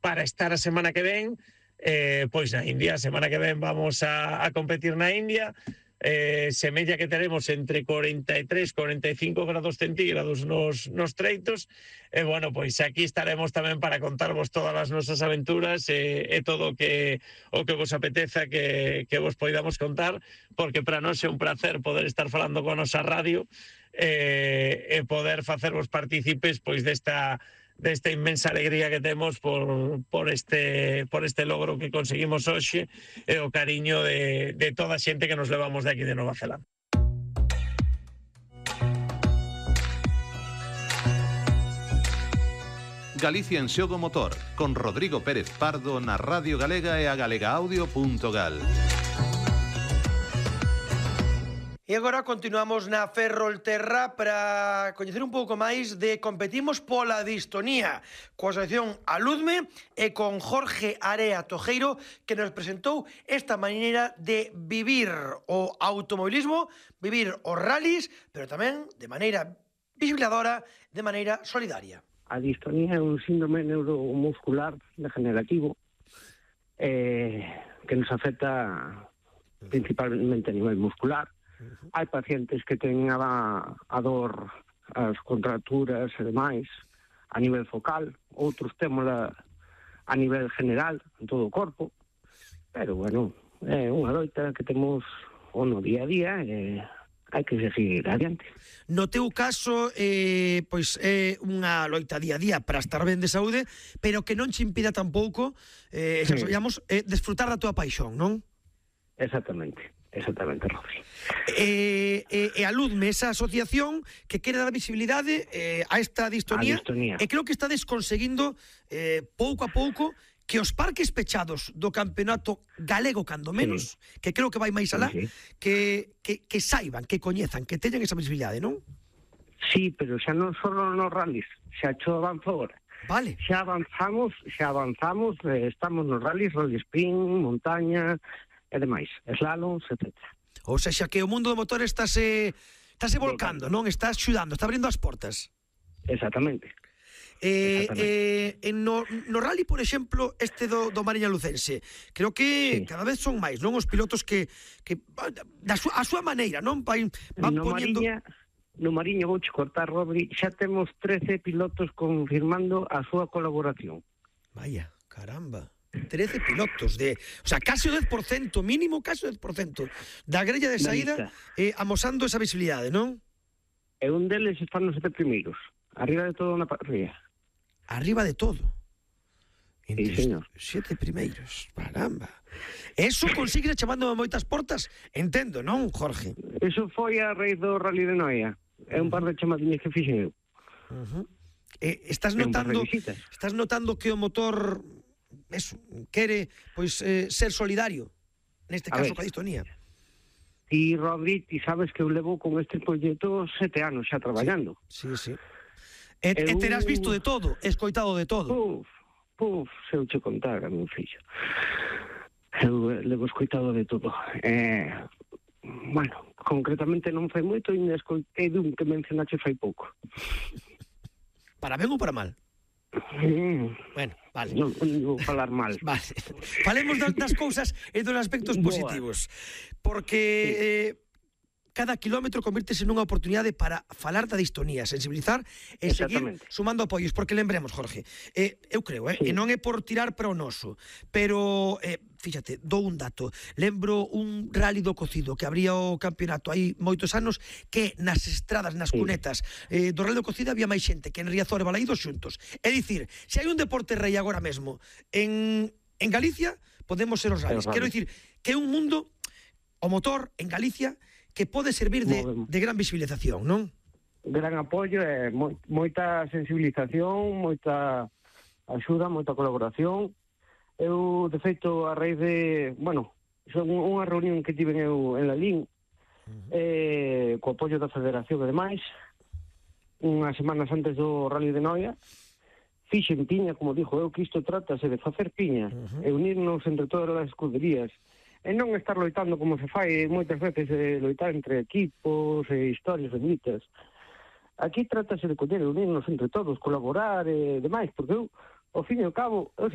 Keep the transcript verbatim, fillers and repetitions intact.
para estar a semana que ven eh, pois na India. A semana que ven vamos a, a competir na India. Eh, semella que teremos entre cuarenta y tres e cuarenta y cinco grados centígrados nos, nos treitos e bueno, pois aquí estaremos tamén para contarvos todas as nosas aventuras e, e todo o que o que vos apeteza que, que vos poidamos contar, porque para nós é un placer poder estar falando con a nosa radio e, e poder facervos partícipes pois desta desta inmensa alegría que temos por, por, este, por este logro que conseguimos hoxe e o cariño de, de toda a xente que nos levamos de aquí de Nova Zelanda. Galicia en Xogo Motor, con Rodrigo Pérez Pardo na Radio Galega e a galegaaudio punto gal. E agora continuamos na Ferrolterra para coñecer un pouco máis de Competimos pola Distonía coa asociación Aludme e con Jorge Area Tojeiro, que nos presentou esta maneira de vivir o automobilismo, vivir os rallies, pero tamén de maneira visibilizadora, de maneira solidaria. A distonía é un síndrome neuromuscular degenerativo eh, que nos afecta principalmente a nivel muscular. Hai pacientes que ten a, a dor, as contracturas e demais a nivel focal, outros témola a nivel general en todo o corpo, pero bueno, é unha loita que temos o no día a día e hai que seguir adiante. No teu caso, eh, pois é unha loita día a día para estar ben de saúde, pero que non che impida tampouco, eh, xa sabíamos, eh, desfrutar da tua paixón, non? Exactamente. Exactamente, Rodri. E, e, e Aludme, esa asociación que quere dar visibilidade eh, a esta distonía, a distonía, e creo que estades conseguindo eh, pouco a pouco que os parques pechados do campeonato galego, cando menos, sí, que creo que vai máis alá, sí, sí, que, que, que saiban, que coñezan, que teñan esa visibilidade, non? Sí, pero xa non só nos rallies, xa xo avanzou agora. Vale. Xa avanzamos, xa avanzamos, eh, estamos nos rallies, rally sprint, montaña e demais, slaloms, etcétera. Ou seja, que o mundo do motor estáse estáse volcando, non? Está axudando, está abrindo as portas. Exactamente. Eh, eh, en no, no rally, por exemplo, este do, do Mariña Lucense, creo que sí, cada vez son máis, non? Os pilotos que, que da súa, a súa maneira, non? Van, van no poñendo... Mariña, no Mariña, vouche cortar, Rodri, xa temos trece pilotos confirmando a súa colaboración. Vaya, caramba. trece pilotos de, o sea, casi o dez por cento, mínimo casi o dez por cento da grella de saída eh, amosando esa visibilidade, non? E un deles están nos sete primeiros, arriba de todo na parrilla. Arriba de todo? Entre sí, señor. Sete primeiros, caramba. Eso consigue chamando a moitas portas, entendo, non, Jorge? Eso foi a raíz do Rally de Noia. É un par de chamadiñas que fixen eu. Uh -huh. eh, estás notando estás notando que o motor eso, quere pois eh, ser solidario, neste caso coa distonía. Ti, Rodri, ti sabes que eu levo con este proxecto sete anos xa traballando. Sí, sí, sí. E, eu... e terás visto de todo, escoitado de todo. Puf, puf, se eu che contar, meu fillo. Eu levo escoitado de todo. Eh, bueno, concretamente non fai moito e escoitei dun que mencionaxe fai pouco. Para ben ou para mal? Mm. Bueno, vale. Non, non vou falar mal. Vale. Falemos das, das cousas e dos aspectos positivos. Porque sí, eh, cada kilómetro convírtese nunha oportunidade para falar da distonía, sensibilizar e seguir sumando apoios. Porque lembremos, Jorge, eh, eu creo, eh, sí, e non é por tirar para o noso, pero, eh, fíxate, dou un dato. Lembro un rally do Cocido que abría o campeonato hai moitos anos, que nas estradas, nas sí, cunetas eh, do rally do Cocido había máis xente que en Riazor e Balaídos xuntos. É dicir, se hai un deporte rei agora mesmo en, en Galicia, podemos ser os rallies. Quero dicir que é un mundo, o motor en Galicia, que pode servir de, de gran visibilización, non? Gran apoio e moita sensibilización, moita axuda, moita colaboración. Eu, de feito, a raíz de, bueno, son unha reunión que tiven eu en Lalín, uh-huh, eh, co apoio da Federación e demais, unhas semanas antes do Rally de Noia, fixen piña, como dixo eu, que isto trátase de facer piña, uh-huh, e unirnos entre todas as escuderías, e non estar loitando como se fai moitas veces, eh, loitar entre equipos e historias benditas. Aquí trátase de coller e unirnos entre todos, colaborar e demais, porque eu, ao fin e ao cabo, eu